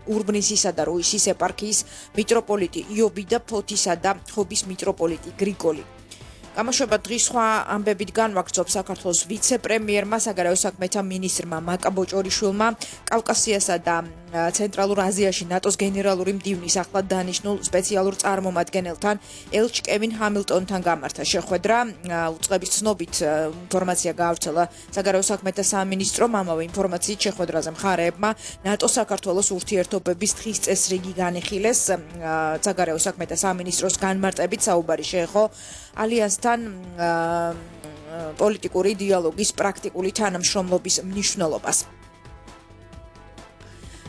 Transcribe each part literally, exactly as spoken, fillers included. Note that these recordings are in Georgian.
ურბნისისა და რუისის ეპარქიის მიტროპოლიტი იობი და ფოთისა და ხობის მიტროპოლიტი გრიგოლი. Გამოშვება დღის სხვა ამბებით განვაგრძობს საქართველოს ვიცე-პრემიერმა, საგარეო საქმეთა მინისტრმა მაკა ბოჭორიშვილმა კავკასიასა და ცენტრალურ აზიაში ნატოს გენერალური მდივნის ახლად დანიშნულ სპეციალურ წარმომადგენელთან ელჩ კევინ ჰამილტონთან გამართა შეხვედრა. უწყების ცნობით ინფორმაცია გაავრცელა საგარეო საქმეთა სამინისტრომ. ამავე ინფორმაციით შეხვედრაზე მხარეებმა ნატო-საქართველოს ურთიერთობების დღის წესრიგი განიხილეს. საგარეო საქმეთა სამინისტროს განმარტებით საუბარი შეეხო ალიანსთან პოლიტიკური დიალოგის პრაქტიკული თანამშრომლობის მნიშვნელობას.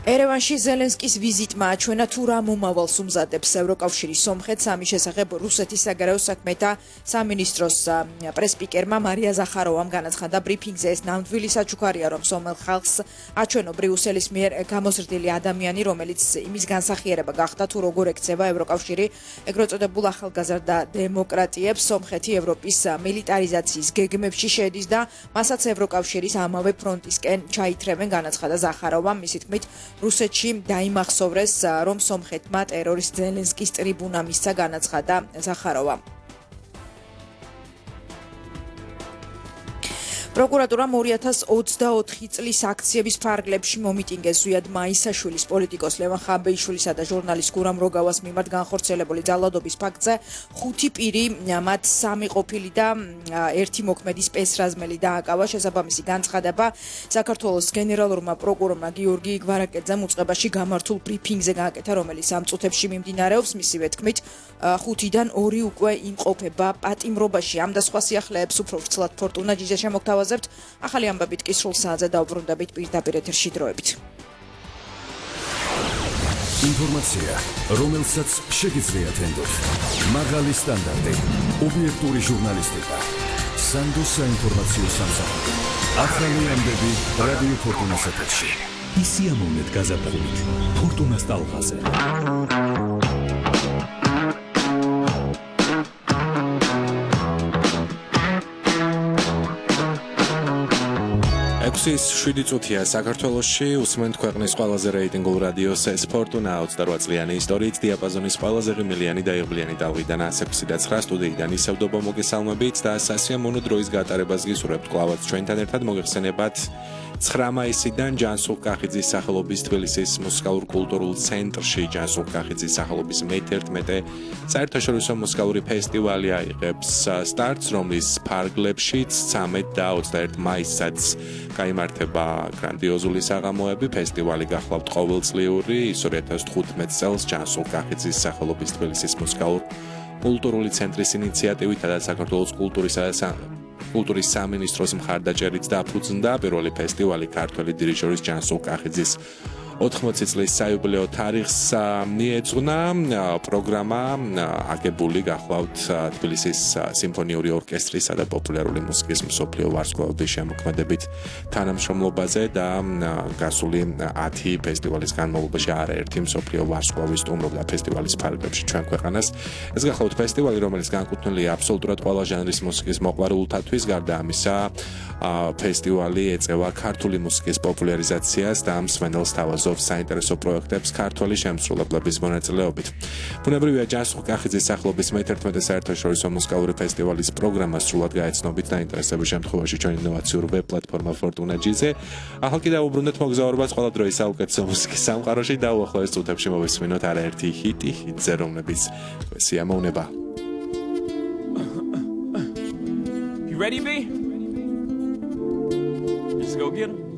ერევანში ზელენსკის ვიზიტმა აჩვენა თუ რა მომავალს უმზადებს ევროკავშირის სომხეთს. ამის შესახებ რუსეთის საგარეო საქმეთა სამინისტროს პრესპიკერმა მარია ზახაროვამ განაცხადა ბრიფინგზე, ეს ნამდვილი საჩუქარია, რომ სომეხ ხალხს აჩვენო ბრიუსელის მიერ გამოზრდილი ადამიანი, რომელიც იმის განსახიერება გახდა თუ როგორ ექცევა ევროკავშირი ეგრეთ წოდებულ ახალგაზრდა დემოკრატიებს. სომხეთი ევროპის მილიტარიზაციის გეგმებში შედის და მასაც ევროკავშირის ამავე ფრონტისკენ ჩაითრევენ, განაცხადა ზახაროვამ. მისი თქმით, რუსეთში დაიმახსოვრეს, რომ სომხეთმა ტერორისტ ზელენსკის ტრიბუნა მისცა, განაცხადა ზახაროვამ. პროკურატურამ ორი ათას ოცდაოთხი წლის აქციების ფარგლებში მომიტინგეს ზვიად მაისაშვილის, პოლიტიკოს ლევან ხაბეიშვილისა და ჟურნალისტ გურამ როგავას მიმართ განხორციელებული ძალადობის ფაქტზე. ხუთი პირი, მათ სამი ყოფილი და ერთი მოქმედი სპეცრაზმელი დააკავა. შესაბამისი განცხადება საქართველოს გენერალურმა პროკურორმა გიორგი გვარაკეძემ უწყებაში გამართულ ბრიფინგზე გააკეთა, რომელიც ამ წუთებში მიმდინარეობს. მისივე თქმით, ხუთიდან ორი უკვე იმყოფება პატიმრობაში. ამ და სხვა სიახლეებს უფრო ვრცლად ფორტუნა ჯიჯა შემოგთავაზებთ. ახალი ამბებით კი სრულ საათზე დავუბრუნდებით პირდაპირ ეთერში დროებით. ინფორმაცია, რომელსაც შეგიძლიათ ენდოთ. მაღალი სტანდარტი, ობიექტური ჟურნალისტიკა. სანდო საინფორმაციო სამსახური. ახალი ამბები რადიო ფორტუნას ეთერში. ისიამოვნეთ გაზაფხულით ფორტუნას ტალღაზე. ექვსის შვიდი წუთია საქართველოში, უსმენთ ქვეყნის ყველაზე რეიტინგულ რადიოს ეს ფორტუნა ოცდარვა წლიანი ისტორიით დიაპაზონის ყველაზე ღიმილიანი და იღბლიანი ტალღიდან ას ექვსი და ცხრა სტუდიიდან ისევდობა მოგესალმებით და სასიამოვნო დროის გატარებას გისურვებთ. კლავაც ჩვენთან ერთად მოგეხსენებათ ცხრა მაისიდან ჯანსუღ კახიძის სახელობის თბილისის მუსიკალურ-კულტურულ ცენტრში ჯანსუღ კახიძის სახელობის მეთერთმეტე საერთაშორისო მუსიკალური ფესტივალი აიღებს სტარტს, რომლის ფარგლებშიც ცამეტ და ოცდაერთი მაისსაც გაიმართება გრანდიოზული საღამოები. ფესტივალი გახლავთ ყოველწლიური, ის ორი ათას თხუთმეტ წელს ჯანსუღ კახიძის სახელობის თბილისის მუსიკალურ-კულტურული ცენტრის ინიციატივით და საქართველოს კულტურისა და კულტურის სამინისტროს მხარდაჭერით დაფუძნდა. პირველი ფესტივალი ქართველი დირიჟორის ჯანსუღ კახიძის ოთხმოცი წლის საიუბილეო თარიღს მიეძღვნა. პროგრამა აგებული გახლავთ თბილისის სიმფონიური ორკესტრისა და პოპულარული მუსიკის მსოფლიო ვარსკვლავების შემოქმედებით თანამშრომლობაზე და გასული ათი ფესტივალის განმავლობაში არაერთი მსოფლიო ვარსკვლავი სტუმრობდა ფესტივალის ფარგლებში ჩვენ ქვეყანას. ეს გახლავთ ფესტივალი, რომელიც განკუთვნილია აბსოლუტურად ყველა ჟანრის მუსიკის მოყვარულთათვის. გარდა ამისა, ფესტივალი ეწევა ქართული მუსიკის პოპულარიზაციას და მსმენელს თავაზობს საინტერესო პროექტებს ქართველი შემსრულებლების მონაწილეობით. ბუნებრივია, ჯანსუღ კახიძის სახელობის მეთერთმეტე საერთაშორისო მუსიკალური ფესტივალის პროგრამა სრულად გაეცნობით დაინტერესების შემთხვევაში ჩვენ ინოვაციურ ვებ პლატფორმა ფორტუნა ჯიზე. ახალ კიდევ უბრუნდეთ მოგზაურობას ყველა დროის საუკეთესო მუსიკის სამყაროში და უახლოეს წუთებში მოვისმინოთ არაერთი ჰიტი ჰიტზე, რომლებიც სიამოვნება. You ready, B? Let's go get 'em.